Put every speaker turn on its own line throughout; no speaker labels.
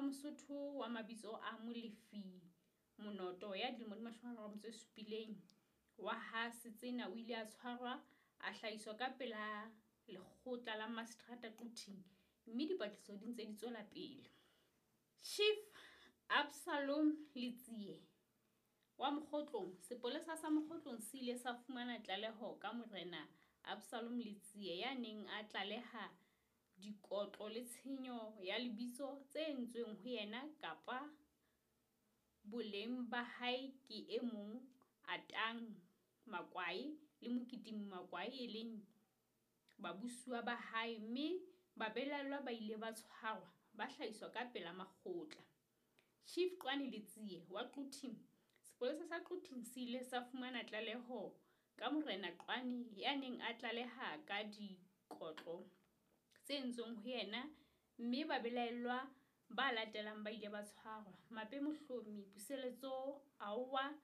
Mosotho wa mabitso a Molefi Monoto ya dilemo di 37 wa ha Setsena o ile a tshwarwa, a hlahiswa ka pela lekgotla la Maseterata Quthing mme dipatlisiso di ntse di tswela pele. Chief Absalom Letsie wa Mokhotlong Sepolesa sa Mokhotlong se ile sa fumana tlaleho ka Morena Absalom Letsie ya neng a tlaleha dikotlo le tshenyo ya lebitso tse entsweng ho yena kapa boleng ba hae ke e mong Atang Makwai le Mokitimi Makwai e leng babusuwa ba hae mme babelaellwa ba ile ba tshwarwa ba hlahiswa ka pela makgotla. Chief Qwane Letsie wa Quthing Sepolesa sa Quthing se ile sa fumana tlaleho ka Morena Qwane ya neng a tlaleha ka dikotlo tse entsweng ho yena mme babelaellwa ba latelang ba ile ba tshwarwa, Mape Mohlomi, Puseletso Aowa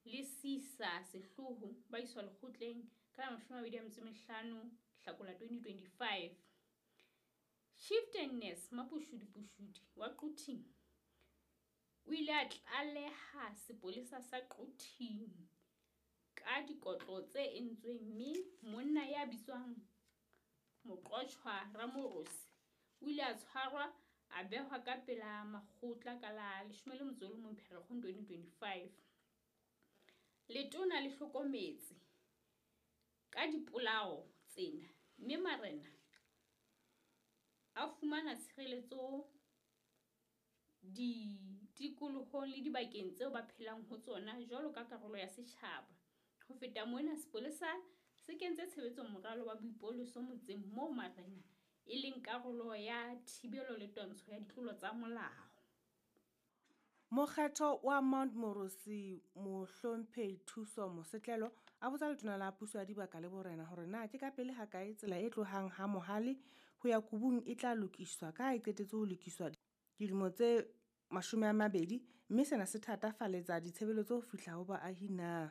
le Sisa Sehloho ba iswa lekgotleng ka la 25 Hlakola 2025. Chieftainess Mapushudi Pushudi wa Quthing o ile a tlaleha sepolesa sa Quthing ka dikotlo tse entsweng mme monna ya bitswang Moqotjhwa Ramorosi o ile a tshwarwa a behwa ka pela makgotla ka la 11 Pherekgong 2025. Letona le hlokometse ka dipolao tsena mme marena a fumana tshireletso ditikolohong le dibakeng tseo ba phelang ho tsona jwalo ka karolo ya setjhaba. Ho feta mona, sepolesa se kentse tshebetsong moralo wa boipoloso motseng moo marena e leng karolo ya thibelo le twantsho ya ditlolo tsa molao.
Mokgethwa wa Mount Moorosi Mohlomphehi Thuso Mosetlelo a botsa Letona la Puso ya Dibaka le Borena hore na ke kapele hakae tsela e tlohang ha Mohale ho ya Kubung e tla lokiswa ka ha e qetetse ho lokiswa dilemo tse 20 mme sena se thatafaletsa ditshebeletso ho fihla ho baahi na.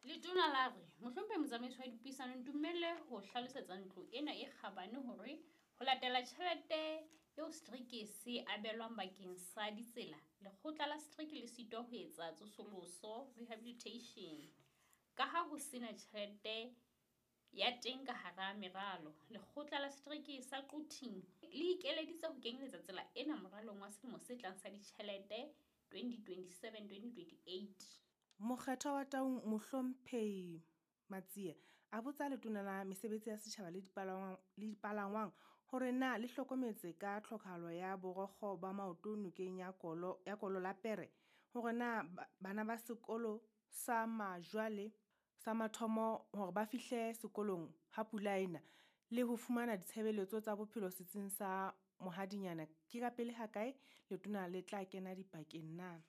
Letona la re, Mohlomphehi Motsamaisi wa Dipuisano, ntumelle ho hlalosetsa ntlo ena e kgabane hore ho latela tjhelete eo setereke se abelwang bakeng sa ditsela, lekgotla la setereke le sitwa ho etsa tsosoloso, rehabilitation, ka ha ho sena tjhelete ya teng ka hara meralo. Lekgotla la Setereke sa Quthing le ikeleditse ho kenyeletsa tsela ena moralong wa selemo se tlang sa ditjhelete, 2027-2028.
Mokgethwa wa Taung Mohlomphehi Matsie a botsa Letona la Mesebetsi ya Setjhaba le Dipalangwang hore na le hlokometse ka tlhokahalo ya borokgo ba maoto nokeng ya Kolo la Pere, hore na bana ba sekolo sa Majwale sa mathomo hore ba fihle sekolong ha pula ena le ho fumana ditshebeletso tsa bophelo setsing sa Mohadinyana ke kapele hakae letona le tla kena dipakeng na.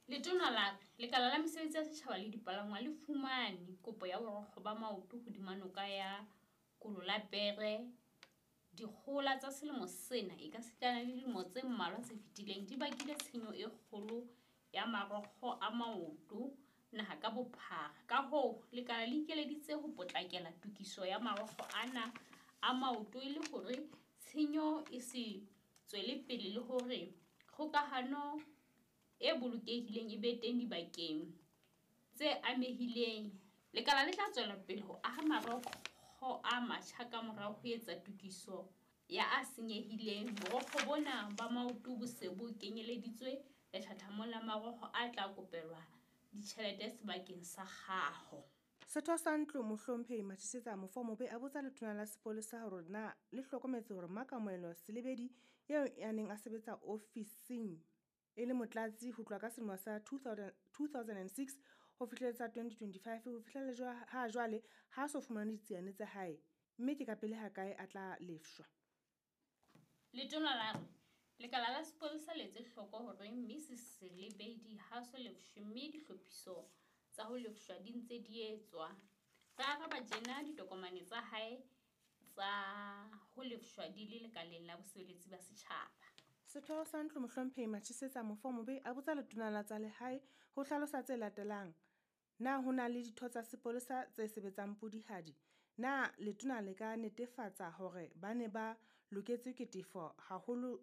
Letona la re, Lekala la Mesebetsi ya Setjhaba le Dipalangwang le fumane kopo ya borokgo ba maoto hodima noka ya Kololapere. Dikgohola tsa selemo sena ekasitana le dilemo tse mmalwa tse fetileng di bakile tshenyo e kgolo ya marokgo a maoto naha ka bophara. Ka hoo, lekala le ikeleditse ho potlakela tokiso ya marokgo ana a maoto e le hore tshenyo e se tswele pele le hore kgokahano e bolokehileng e be teng dibakeng tse amehileng. Lekala le tla tswela pele ho aha marokgo a matjha kamora ho etsa tokiso ya a senyehileng. Borokgo bona ba maoto bo se bo kenyeleditswe lethathamong la marokgo a tla kopelwa ditjhelete sebakeng sa kgaho.
Setho sa Ntlo Mohlomphehi Mathisetsa Mofomobe a botsa Letona la Sepolesa hore na le hlokometse hore Makamohelo Selebedi eo a neng a sebetsa ofising e le motlatsi ho tloha ka selemo sa 2006 ho fihlela 2025 ho fihlela ha jwale ha so fumane ditsiane tsa hae mme ke kapele hakae a tla lefshwa.
Letona la re, Lekala la sepolesa le etse hloko hore Mrs Selebedi ha so lefshwe mme dihlophiso tsa ho lefshwa di ntse di etswa. Re araba tjena ditokomane tsa hae tsa ho lefshwa di le lekaleng la bosebeletsi ba setjhaba.
Setho sa Ntlo Mohlomphehi Mathisetsa Mofomobe a botsa Letona la tsa Lehae ho hlalosa tse latelang. Na ho na le ditho tsa sepolesa tse sebetsang pudihadi? Na letona le ka netefatsa hore ba ne ba loketswe ke tefo haholo